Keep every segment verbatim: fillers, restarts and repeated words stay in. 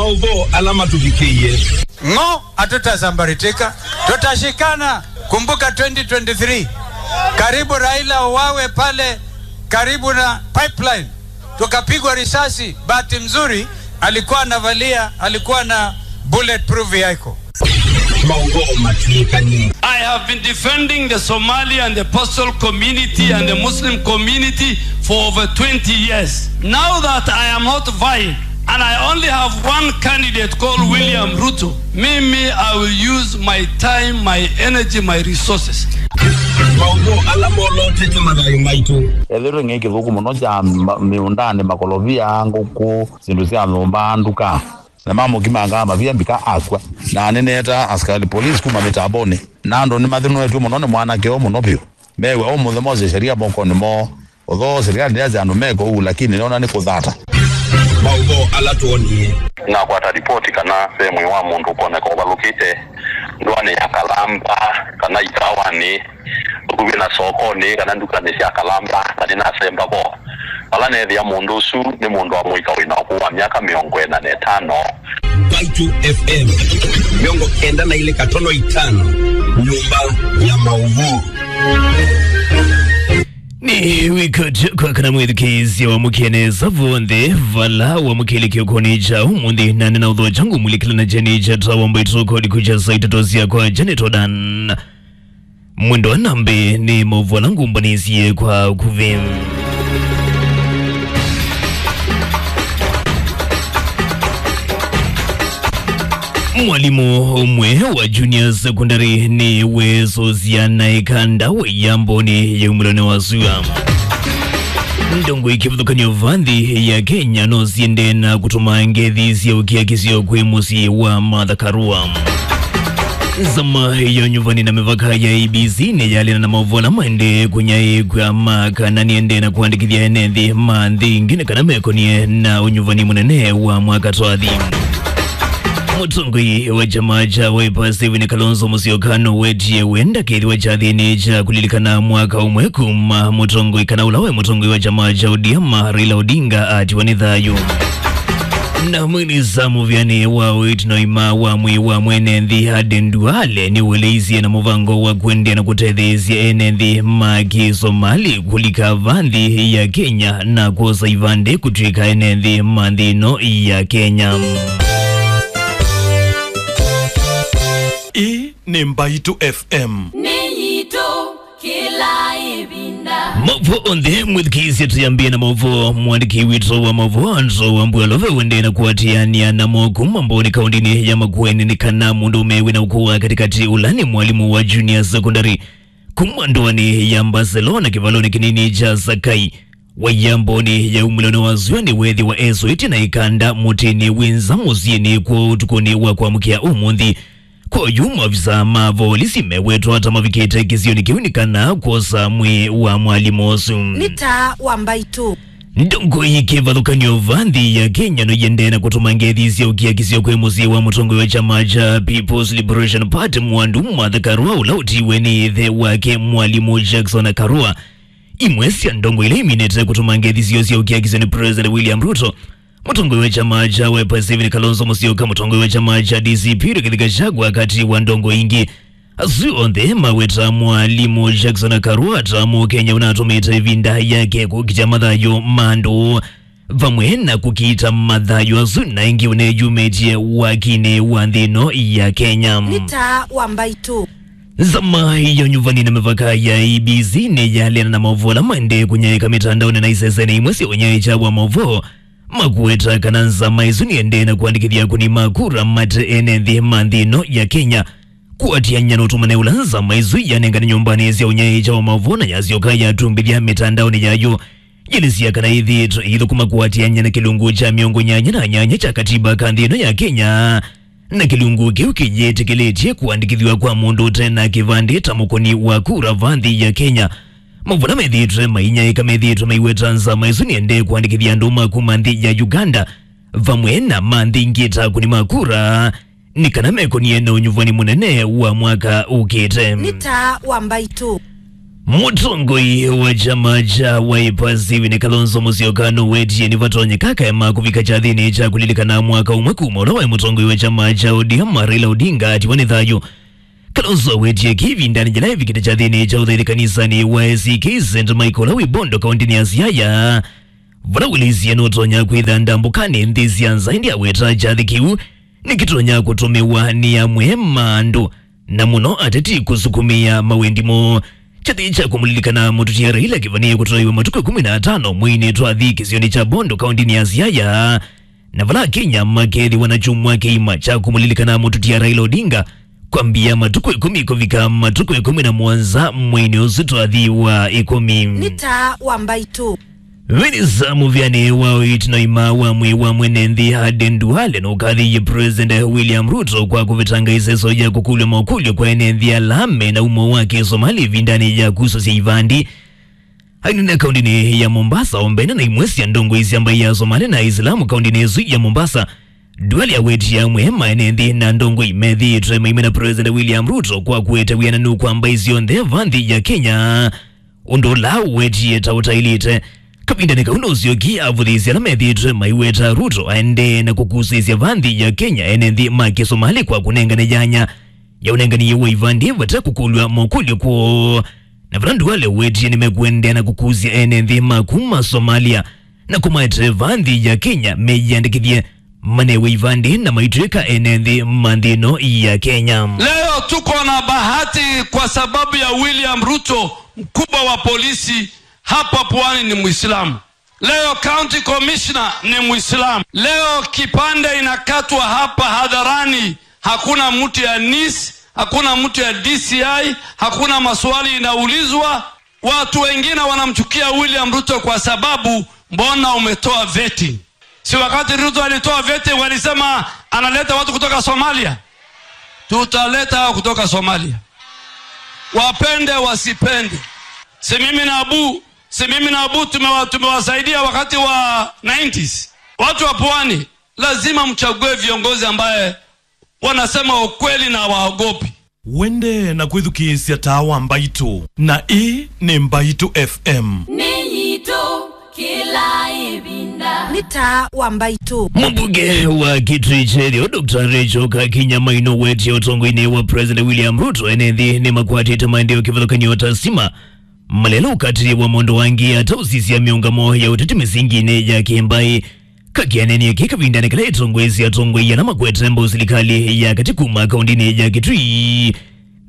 Maũvoo ala matũvikĩie. Ng'o, hatutasambaratika. Tutashikana. Kumbuka twenty twenty-three. Karibu Raila uwawe pale karibu na pipeline. Tukapigwa risasi. Bahati mzuri alikuwa anavalia, alikuwa na bulletproof vehicle. Maũvoo matwĩkanie. I have been defending the Somali and the Pashtun community and the Muslim community for over twenty years. Now that I am not vying and I only have one candidate called William Ruto, mimi, I will use my time, my energy, my resources. Maũvoo ala molotete mathayũ maitũ. Ethĩtwe ng'ei kĩthũku mũno kya ma-, mĩũndanĩ, makolovia, ngũkũ, syĩndũ sya nyũmba, nduka. Na mamũkimangaa mavia mbika akw'a. Na nĩneeta asikali polisi kuma mĩtambonĩ. Na andũ nĩmathĩnũetw'e mũno nĩ mwanake ũũ mũno vyũ. Mew'a ũmũnthĩ mose sheria mokonĩ moo. Although serikali ndĩasya andũ meko ũu, lakini nĩona nĩ kũthata. Maũvoo ala twonie. Nakwata ripoti kana ve mwĩĩ wa mũndũ ũkoneka ũvalũkĩte ndũanĩ ya Kalamba kana ikawanĩ, ũkuvĩ na sokonĩ kana ndukanĩ sya Kalamba, na nĩnasemba vo. Vala neethĩa mũndũ ũsu nĩ mũndũ wa mũika wĩ na ũkũũ wa myaka mĩongo ĩna na ĩtano. Mbaitũ F M, mĩongo kenda na ilĩ katono itano, nyũmba ya maũvoo. Nĩ wĩkatyo kwa kana mwĩthukĩĩsya wamũkĩe nesa vonthe vala wamũkĩlĩkyo kũnĩ kya ũmũnthĩ, na nĩna ũthokya ngũmulĩkĩla na kyeni kya tawa Mbaitũ kodi kũkya saa itatũ syakwa. Janet Odan. Mwendo wa nambĩ nĩ maũvoo ala ngũmbanĩsye kwa ũkuvĩ. Mwalimũ ũmwe wa junior secondary nĩwĩsũsya na ĩkanda wĩ yambonĩ ya umĩlonĩ wa sua. Ndongoi kĩvathũkany'o va nthĩ ya Kenya no siende na kũtũma ngethi sya ũkiakisyo kwĩ mũsyĩ wa Martha Karua. Nzama ya ũnyuvani na mĩvaka ya I E B C nĩyalĩna na maũvoo ala maendee kũnyaĩĩkw'a ma kana nĩendee na kũandĩkĩthya ene nthĩ ma nthĩ ingĩ nĩ kana mekonie na ũnyuvani mũnene wa mwaka twathi. Mũtongoi wa kyama kya Wiper Stephen Kalonzo Musyoka nũwetie wenda kĩthĩwa kyathĩnĩ kya kũlilikana mwaka ũmwe kuma mũtongoi kana ũla waĩ mũtongoi wa kyama kya O D M Raila Odinga atiwa nĩ thayũ. Na minista mũvĩanĩ wa ũiiti na ũima wa mwĩĩ wa mwene nthĩ Aden Duale nĩweleisye na mũvango wa kũendeea na kũtetheesya ene nthĩ ma Kĩsomali kũlika va nthĩ ya Kenya na kwosa ivandĩ kũtw'ĩka ene nthĩ ma nthĩ ĩno ya Kenya. Ĩĩ nĩ Mbaitũ F M. Nĩ yitũ. Kĩla ĩvinda. Maũvoo onthe mwĩthukĩĩsye, tũyambĩe na maũvoo. Mũandĩki witũ wa maũvoo Andrew Wambua Love wendee na kũatĩanĩa namo kuma Mboni kaũndĩnĩ ya Makueni nĩ kana mũndũũme wĩna ũkũũ wa katĩkatĩ ũla nĩ mwalimũ wa junior secondary kuma ndũanĩ ya Barcelona kĩvalonĩ kĩnini kya Sakai waiya Mboni ya umĩlonĩ wa sua nĩweethĩwa esũĩtye na ĩkanda mũtĩnĩ wĩ nza mũsyĩnĩ kwoo ũtukũnĩ wa kwamũkĩa ũmũnthĩ. Kwa oyu, maofisa ma volisi mewetwa ta mavikĩte kĩsionĩ kĩu nĩ kana kwosa mwĩĩ wa mwalimũ ũsu. Nĩ taa wa Mbaitũ. Ndongoi kĩvathũkany'o va nthĩ ya Kenya no iendee na kũtũma ngethi sya ũkiakisyo kwĩ mũsyĩ wa mũtongoi wa kyama kya People's Liberation Party Mwandu Martha Karua, ũla ũtiiwe nĩ ĩthe wake mwalimũ Jackson Karua. Imwe sya ndongoi ila iminĩte kũtũma ngethi syoo sya ũkiakisyo nĩ President William Ruto, mũtongoi wa kyama kya Wiper Stephen Kalonzo Musyoka, mũtongoi wa kyama kya D C P Rigathi Gachagua, katĩ wa ndongoi ingĩ. Asu onthe maweta mwalimũ Jackson Karua ta Mũkenya ũnatũmĩte ĩvinda yake kũkitya mathayũ ma andũ, vamwe na kũkita mathayũ asu na ĩngĩ ũneyumĩtye wakinĩ wa nthĩ ĩno ya Kenya. Nĩ taa wa Mbaitũ. Nzama ya ũnyuvani na mĩvaka ya I E B C nĩyaleana na maũvoo ala maendee kũnyaĩĩka mĩtandaonĩ na isesenĩ imwe sya ũnyaĩĩkya wa maũvoo, makũweta kana nzama ĩsu nĩendee na kũandĩkĩthya akũni ma kura mate ene nthĩ ma nthĩ ĩno ya Kenya, kũatĩanĩa na ũtũmane ũla nzama ĩsu yanengane nyũmbanĩ sya ũnyaĩĩkya wa maũvoo na yasyoka yatumbĩthya mĩtandaonĩ yayo. Yĩlĩsya kana ĩthĩĩtwe ĩithũkũma kũatĩanĩa na kĩlungu kya mĩongo nyanya na nyanya kya katiba ka nthĩ ĩno ya Kenya, na kĩlungu kĩu kĩyĩtĩkĩlĩtye kũandĩkĩthw'a kwa mũndũ ũte na kĩvandĩ ta mũkũni wa kura va nthĩ ya Kenya. Maũvoo ala methĩĩtwe mainyaĩĩka methĩĩtwe maiweta nzama ĩsu nĩendee kũandĩkĩthya andũ ma kuma nthĩ ya Uganda vamwe na ma nthĩ ingĩ ta akũni ma kura, nĩ kana mekonie na ũnyuvani mũnene wa mwaka ũkĩte. Nĩ taa wa Mbaitũ. Mũtongoi wa kyama kya Wiper Stephen Kalonzo Musyoka nũwetie nĩvatonyeka kaema kũvika kyathĩnĩ kya kũlilikana mwaka ũmwe kuma ũla waĩ mũtongoi wa kyama kya O D M Raila Odinga atiwa nĩ thayũ. Kalonzo awetie kĩĩ ĩvindanĩ yĩla evikĩte kyathĩnĩ kya ũthaithi kanisanĩ wa A C K Saint Michael ũla wĩ Bondo, kaũntĩnĩ ya Siaya, vala wĩlĩsye nũtonya kwĩtha ndambũkanĩ nthĩ sya nza, ĩndĩ aweta kyathĩ kĩu nĩkĩtonya kũtũmĩwa nĩ amwe ma andũ, na mũno ateti kũsukumĩa mawendi moo. Kyathĩ kya kũmũlilikana mũtutia Raila kĩvanĩe kũtoewa matukũ ĩkũmi na atano mweinĩ twathi kĩsionĩ kya Bondo, kaũntĩnĩ ya Siaya, na vala Akenya makethĩwa na kyumwa kĩima kya kũmũlilikana mũtutia Raila Odinga, kwambia matukũ ĩkũmi kũvika matukũ ĩkũmi na mũonza mweinĩ ũsu twathi wa ĩkũmi. Nĩ taa wa mbaitũ. Minista mũvĩanĩ wa ũiiti na ũima wa mwĩĩ wa mwene nthĩ Aden Duale nũkathĩie President William Ruto kwa kũvetanga ĩseso ya kũkũlw'a makũlyo kwa ene nthĩ ala me na umo wa Kĩsomali ĩvindanĩ ya kusũsya ivandi. Ainena kaũntĩnĩ ya Mombasa, o mbene na imwe sya ndongoi sya mbaĩ ya Somali na Aisilamu kaũntĩnĩ ĩsu ya Mombasa, Duale awetie amwe ma ene nthĩ na ndongoi methĩĩtwe maimena President William Ruto kwa kũete wĩananu kwa mbaĩ syonthe va nthĩ ya Kenya, ũndũ ũla ũwetie ta ũtaĩlĩte. Kavindanĩ kau nũsyokie avũthĩĩsya ala methĩĩtwe maiweta Ruto aendee na kũkusĩĩsya va nthĩ ya Kenya ene nthĩ ma Kĩsomali kwa kũnengane yanya ya ũnengani wa ivandi vate kũkũlw'a makũlyo kwoo. Na vala Duale ũwetie nĩmekũendeea na kũkusya ene nthĩ ma kuma Somalia na kũmaete va nthĩ ya Kenya meyĩandĩkĩthye manewe ivandi na maitw'ĩka ene nthĩ ma nthĩ ĩno ya Kenya. Leo tuko na bahati kwa sababu ya William Ruto, mkubwa wa polisi hapa Pwani ni Muislamu. Leo county commissioner ni Muislamu. Leo kipande inakatwa hapa hadharani, hakuna mtu ya nis, hakuna mtu ya D C I, hakuna maswali inaulizwa. Watu wengine wanamchukia William Ruto kwa sababu, mbona umetoa vetting? Si wakati Ruto alitoa vetting walisema analeta watu kutoka Somalia? Tutaleta hao kutoka Somalia, wapende wasipende. Si mimi na Abu, si mimi na Abu tumewa-, tumewasaidia wakati wa nineties. Watu wa Pwani, lazima mchague viongozi ambaye wanasema ukweli na hawaogopi. Wende na kwĩthukĩĩsya taa wa mbaitũ, na ĩĩ nĩ Mbaitũ F M. Nĩ yitũ kĩla ĩvinda. Nĩ taa wa mbaitũ. Mũmbunge wa Kitui kya Ĩtheo, Doctor Rachel Kakinya Maina wetie ũtongoinĩ wa President William Ruto, ene nthĩ nĩmakwatĩte maendeeo kĩvathũkany'o ta stima, malelũ, ũkatĩĩo wa maũndũ angĩ, ata ũsisya mĩũngamo ya ũteti mĩsinginĩ ya kĩmbaĩ. Kakinya aneenie kĩĩ kavindanĩ kala etongoesye atongoi ala makwete mbau silikalĩ ya katĩ kuma kaũntĩnĩ ya Kitui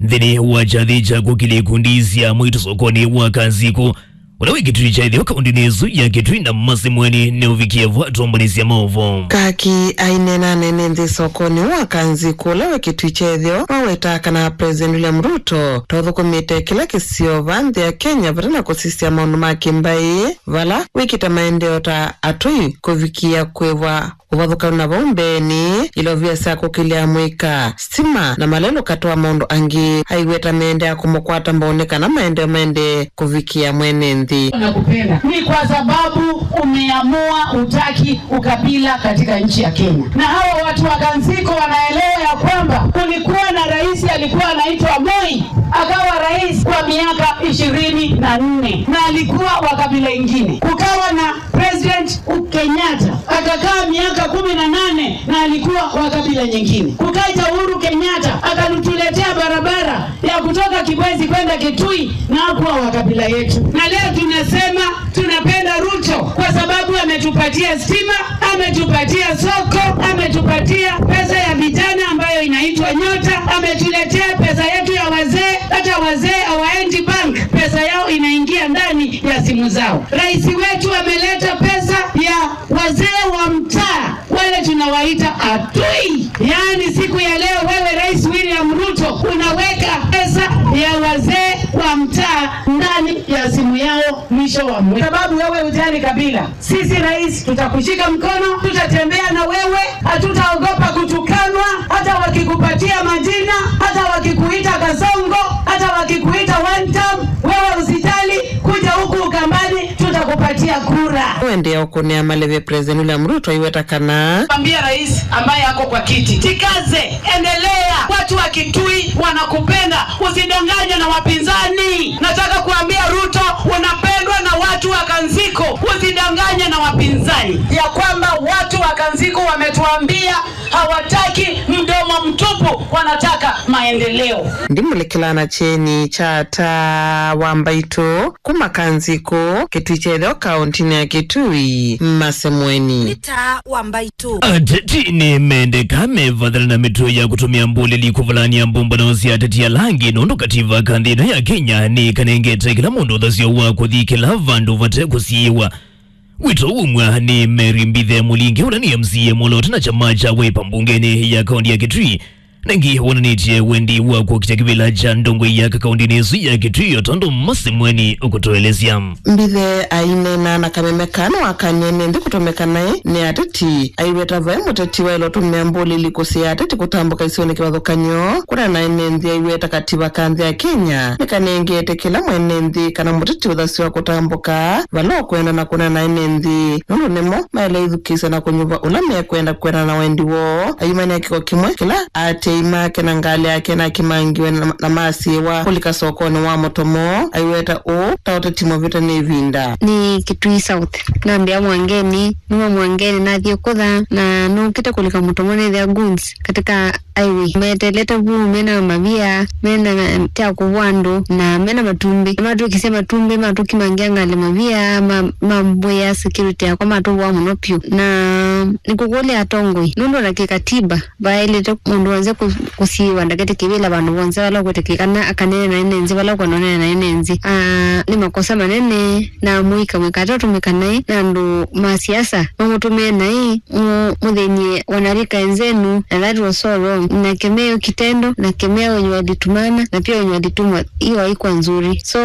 nthĩnĩ wa kyathĩ kya kũkĩlya ikundi sya mwaitũ sokonĩ wa Kanzikũ, ũla wĩ Kitui kya Ĩtheo kaũntĩnĩ ĩsu ya Kitui, na Mercy Mweni nĩũvikie vo atũmbanĩsya maũvoo. Kaki aineena nene nthĩ sokonĩ wa Kanzikũ ũla wĩ Kitui kya Ĩtheo, waweta kana President William Ruto ta ũthũkũmĩte kĩla kĩsio va nthĩ ya Kenya vate na kũsisya maũndũ ma kĩmbaĩ, vala wĩkĩte maendeeo ta atũi kũvikĩa kwĩvwa ũvathũkanu na vau mbeenĩ, ilovia sya kũkĩlya mũika, stima na malelũ katĩ wa maũndũ angĩ. Aiweta meendeea kũmũkwata mbau nĩ kana maendeeo maendee kũvikĩa mwene nthĩ. Nakupenda ni kwa sababu umeamua utaki ukabila katika nchi ya Kenya. Na hawa watu wa Kanzikũ wanaelewa ya kwamba kulikuwa na rais alikuwa anaitwa Moi, akawa rais kwa miaka ishirini na nne, na alikuwa wa kabila ingine. Kukawa na President Kenyatta, akakaa miaka kumi na nane na alikuwa wa kabila nyingine. Kukaja Uhuru Kenyatta, akatuletea barabara ya kutoka Kibwezi kwenda Kitui na hakuwa wa kabila yetu. Na leo tunasema tunapenda Ruto kwa sababu ametupatia stima, ametupatia soko, ametupatia pesa ya vijana ambayo inaitwa Nyota, ametuletea pesa yetu ya wazee, hata wazee hawaendi bank, pesa yao inaingia ndani ya simu zao. Rais wetu ameleta pesa ya wazee wa mtaa, wale tunawaita atui. Yaani siku ya leo wewe Rais William Ruto unaweka pesa ya wazee wa mtaa ndani ya simu yao mwisho wa mwezi. Sababu wewe hujali kabila. Sisi rais, tutakushika mkono, tutatembea na wewe, hatutaogopa kutukanwa, hata wakikupatia majina, hata wakikuita Kasongo, hata wakikuita one term, wewe usijali, kuja huku Ukambani, tuta Kupatia kura. Kuendelea ũkũnĩa maleve President William Ruto aiweta kana. Ambia rais ambaye ako kwa kiti, jikaze, endelea. Watu wa Kitui wanakupenda, usidanganywe na wapinzani. Nataka kuambia Ruto, unapendwa na watu wa Kanziko, usidanganywe na wapinzani. Ya kwamba watu wa Kanziko wametuambia hawataki mdomo mtupu, wanataka maendeleo. Ndimũlĩkĩla na kyeni kya Ata wa Mbaitũ kuma Kanzikũ, Kĩtui kya Ĩtheo, kaũntinĩ ya Kĩtui, Masemweni. Nĩ Ata wa Mbaitũ. Ateti nĩmendeka mevathana na mĩtuo ya kũtũmĩa mbũlĩli kũvalany'a mbũmbano sya ateti ala angĩ, nũndũ kativa ka nthĩ ĩno ya Kenya nĩkanengete kĩla mũndũ ũthasyo wa kũthi kĩla vandũ vate kũsiĩĩwa. Wĩto umwa nĩ Mary Mbithe Mũlinge, ũla nĩ M C A mũlote na kyama kya Wiper mbungenĩ ya kaũnti ya Kitui, na ĩngĩ wonanĩtye wendi wa kũkita kĩvĩla kya ndongoi ya kaũntinĩ ĩsu ya Kitui, o tondũ Masemweni ũkũtũelesya. Mbithe aineena na kameme kana wakanie nĩ nthĩ kũtũmĩka naĩ nĩ ateti, aiweta vaĩ mũteti waĩle ũtũmĩa mbũlĩli kũsiĩĩa ateti kũtambũka isionĩ kĩvathũkany'o, kũna na ene nthĩ aiweta kativa ka nthĩ ya Kenya nĩkanengete kĩla mwene nthĩ kana mũteti ũthasyo wa kũtambũka vala ũkwenda na kũneena na ene nthĩ, nũndũ nĩmo maĩle ithukĩĩsya na kũnyuva ũla mekwenda kwendana na wendi woo. Ayumania kĩko kĩmwe kĩla aatĩĩi make na ngalĩ yake nakimangiwe na, na masiĩwa kũlika sokonĩ wa Mũtomo, aiweta ũũ ta ũteti mũvĩte nĩ ĩvinda. Nĩ Kitui South. Nambĩa Mwangeni, numa Mwangeni nathiĩ kũtha, na nũkĩte kũlika Mũtomo nĩthĩa goons katika highway. Metelete vu, mena mavia, mena kya kũvũa andũ, na mena matumbĩ. Matwĩkĩsya matumbĩ, matũkimangia ngalĩ mavia, ma, mambũĩa security yakwa, matũvũa mũno vyũ. Na nĩkũkũlya atongoi, nũndũ ona kĩkatiba, vaĩlĩte mũndũ wonse kũ-, kũsiĩĩwa ndakete kĩvĩla vandũ vonse vala ũkwĩtĩkĩlĩka na akaneena na ene nthĩ vala ũkwenda ũneena na ene nthĩ. Ah, nĩ makosa manene, na mũika mwĩkata ũtũmĩka naĩ na andũ ma siasa mamũtũmĩe naĩ, mũ-, mũthĩny'e wanarika enzenu, na that was so wrong. Na kemeo kitendo, na kemeo wenye walitumana, na pia wenye walitumwa, hiyo haikuwa nzuri. So,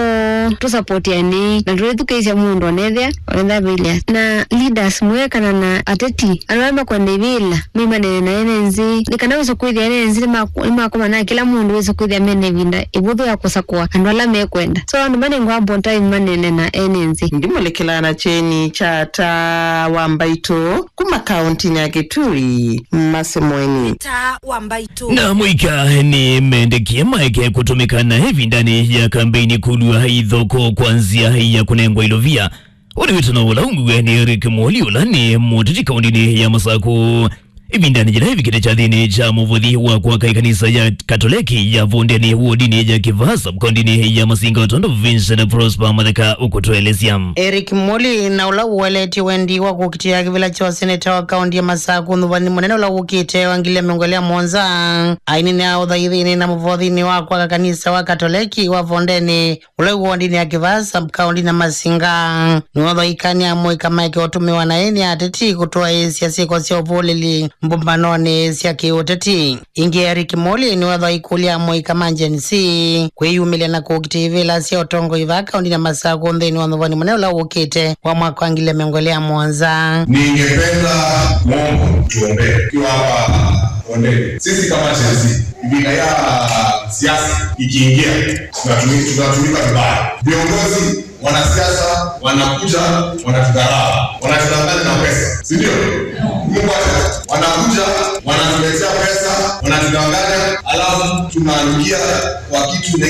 tũsapotianei, na tũithukĩĩsya mũndũ onethĩa, onethĩa vĩlĩa. Na leaders mwekana na ateti, andũ ala makwenda ivĩla, maimanene na ene nthĩ. Nĩ kana wĩse kwĩthĩa ene nthĩ nĩmaku-, nĩmakomana na kĩla mũndũ wĩse kwĩthĩa mena ĩvinda ĩvũthũ ya kũsakũa andũ ala mekwenda. So, andũ manengwa ambo time manene na ene nthĩ. Ndimũlĩkĩlaa na kyeni kya Ata wa Mbaitũ kuma kaũntinĩ ya Kitui, Masemweni. Ata wa Mbaitũ. Na mũika nĩmendekie maeke kũtũmĩka na ĩvindanĩ ya kambeini kũlw'a ithoko kwa nzĩa ya kũnengwa ilovia. Ũũ nĩ wĩtano ũla umbiwe nĩ Eric Mwoli, ũla nĩ mũteti kaũntinĩ ya Masakũ, ĩvindanĩ yĩla ĩvikĩte kyathĩnĩ kya mũvothi wa kwaka ĩkanisa ya Katoleki ya Vondeni wodinĩ ya Kĩvaa sub-kaũntinĩ ya Masinga, o tondũ Vincent Prosper Matheka ũkũtũelesya. Eric Mwoli, na ũla ũeleetye wendi wa kũkitĩa kĩvĩla kya ũseneta wa kaũnti ya Masakũ ũthũvanĩ mũnene ũla wũkĩte wa ngili ya mĩongo ĩlĩ na mũonza, aineenea ũthaithinĩ na mũvothinĩ wa kwaka kanisa wa Katoleki wa Vondeni, ũla wĩ wodinĩ ya Kĩvaa sub-kaũnti na Masinga. Nĩwathaĩkanie amũika maeke ũtũmĩwa naĩ nĩ ateti kũtwaĩĩsya syĩko sya ũvũlĩli mbũmbanonĩ sya kĩũteti. Ĩngĩ, Eric Mwoli nĩwathaĩkũlya amũika ma Gen Z kwĩyumĩlya na kũkitĩa ivĩla sya ũtongoi vaa kaũntinĩ ya Masakũ nthĩnĩ wa ũthũvanĩ mũnene ũla wũkĩte wa mwaka wa ngili ya mĩongo ĩlĩ na mũonza. Ningependa kuomba tuombee tukiwa hapa Vondeni. Sisi kama Gen Z, ĩvinda ya siasa ikiingia, tunatumi-, tunatumika vibaya. Viongozi, wanasiasa wanakuja, wanatudharau, wanatudanganya na pesa, si ndio? Mungu acha, wanakuja, wanatuletea pesa, wanatudanganya, alafu tunaingia kwa kitu